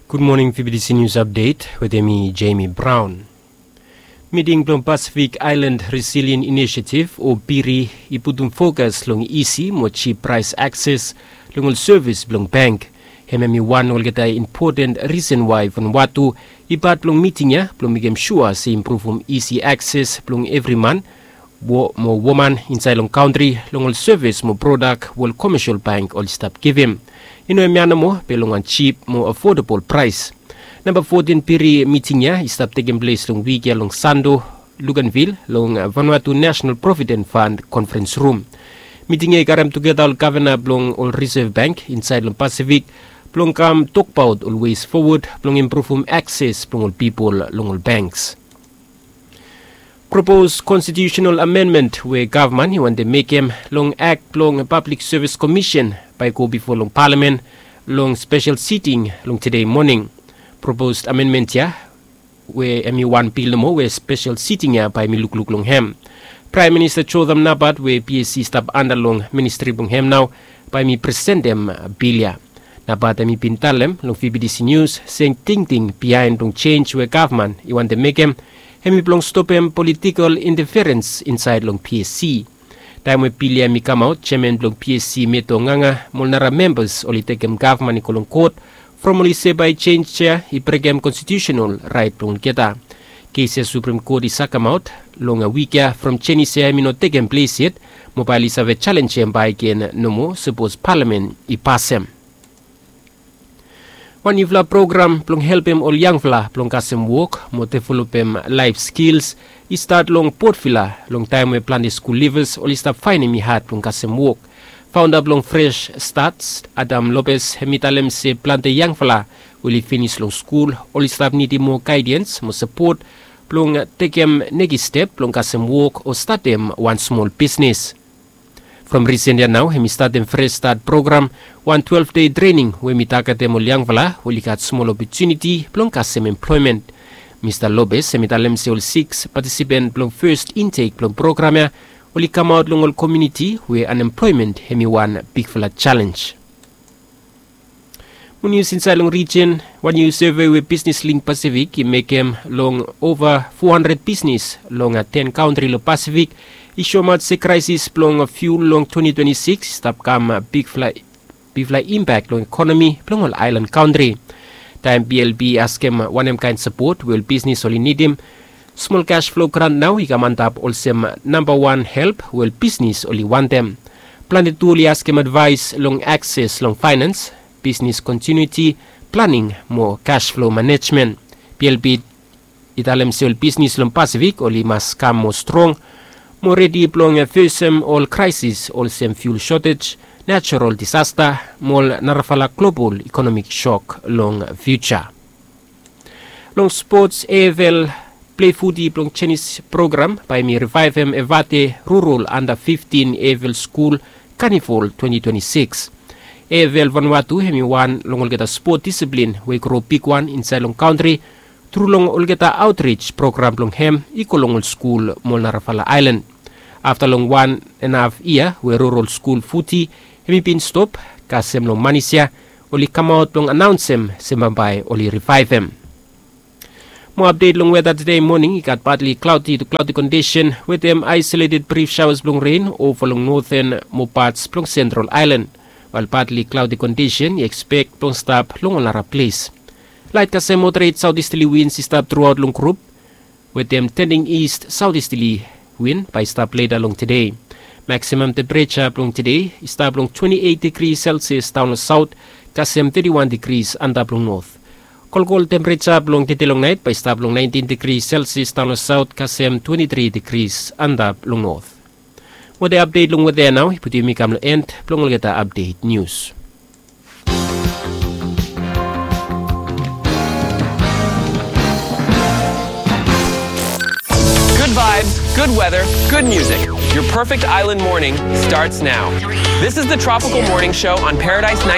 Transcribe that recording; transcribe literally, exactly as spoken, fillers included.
Gud moning, P B T C News Update wetem mi, Jamie Brown. Miting blong Pacific Island Resilient Initiative, o PIRI, i putum fokas long isi mo jip praes akses long ol sevis blong bank. Hemia hemi wan olgeta impoten risen wae Vanuatu i pat blong miting ya blong mekem sua se i impruvum isi akses blong evri man mo woman insaed long kantri long ol sevis mo prodak we ol komesel bank oli stap givim. I no hemia nomo, be long wan jip mo afodabol praes. Namba fotin PIRI miting ya i stap tekem ples long wik ya long Santo, Luganville, long Vanuatu National Provident Fund Conference Room. Miting ya i karem tugeta ol gavana blong ol Reserve Bank insaed long Pasifik blong kam tokbaot ol ways fowod blong impruvum akses blong ol pipol long ol banks. Propos konstitiusenal amendment we gavman i wantem mekem long Ak blong Pablik Sevis Komisen bae i go bifo long palamen long spesel siting long tede moning. Propos amendment ya we hemi wan bil nomo we spesel siting ya bae hemi lukluk long hem. Praem Minista Jotham Napat we PSC i stap anda long ministri blong hem nao bae hemi presentem bil ya. Napat hemi bin talem long P B T C News se tingting biaen blong jenj we gavman i wantem mekem hemi blong stopem politikol inteferens insaed long PSC. Taem we bil ya hemi kamaot, jeaman blong PSC Meto Nganga mo ol nara membas oli tekem gavman i go long kot from oli se bae jenj ya i brekem konstitiusenal raet blong olgeta. Kes ya Suprem Kot i sakemaot long wik ya from jenis ya hemi no tekem ples yet, mo bae oli save jalenjem bakegen nomo sapos palamen i pasem. Wan niufala program blong helpem ol yangfala blong kasem wok mo developem laef skils i stat long Port Vila long taem we plante skul livas oli stap faenem i had blong kasem wok. Faonda blong Fresh Start, Adam Lopez, hemi talem se plante yangfala we oli finis long skul oli stap nidim moa gaedens mo sapot blong tekem nekis step blong kasem wok o statem wan smol bisnes. From risen ya nao hemi statem Fresh Start program, wan twelef dei trening we hemi tagetem ol yangfala we oli gat smol opotuniti blong kasem emploemen. Mista Lopez hemi talem se ol siks patisipen blong fes intek blong program ya oli kamaot long ol komuniti we anemploemen hemi wan bigfala jalenj. Mo nius insaed long rijin, wan niu seve we Bisnis Link Pasifik i mekem long ova fo handred bisnis long ten kantri long Pasifik i soemaot se kraesis blong fiul long twenti twenti sikis i stap kam bigfala bigfala impak long ekonomi blong ol aelan kantri. Taem BLP i askem wanem kaen sapot we ol bisnis oli nidim, smol kas flo grant nao i kam antap olsem nambawan help we ol bisnis oli wantem. Plante tu oli askem advaes long akses long faenans, bisnis kontinuiti, planing mo kas flo manejmen. BLP i talem se ol bisnis long Pasifik oli mas kam moa strong mo redi blong fesem ol kraesis olsem fiul sotej, najerol disasta mo ol narafala global ekonomik sok long fiuja. Long spots, AFL Plei Futi blong Jenis program bae hemi rivaevem Evate Rural Anda fiftin AFL Skul Kanivol twenti twenti sikis. AFL Vanuatu hemi wan long olgeta spot disiplin we i gro bigwan insaed long kantri tru long olgeta aotrij program blong hem i go long ol skul mo ol narafala aelan. Afta long wan en haf yia we rural skul futi hemi bin stop, kasem long manis ya oli kamaot blong anaonsem se bambae oli rivaevem. Mo apdet long weta tede moning, i gat patli klaodi tu klaodi kondisen wetem aesoleted brif saoas blong ren ova long noten mo pats blong sentral aelan, wael patli klaodi kondisen i ekspek blong stap long ol nara ples. Laet kasem moderet saotisterli wins i stap truaot long grup wetem tending ist saotisterli win bae i stap leta long tede. Maksimam tempereja blong tede i stap long twenti eit digri selsias daon long saot kasem teti wan digris antap long not. Kolkol tempereja blong tede long naet bae i stap long naentin digri selsias daon long saot kasem twenti tri digris antap long not. Weta apdet long weta ya nao i putum yumi kam long en blong olgeta apdet nius. Good vibes, good weather, good music. Your perfect island morning starts now. This is the Tropical Morning Show on Paradise ninety.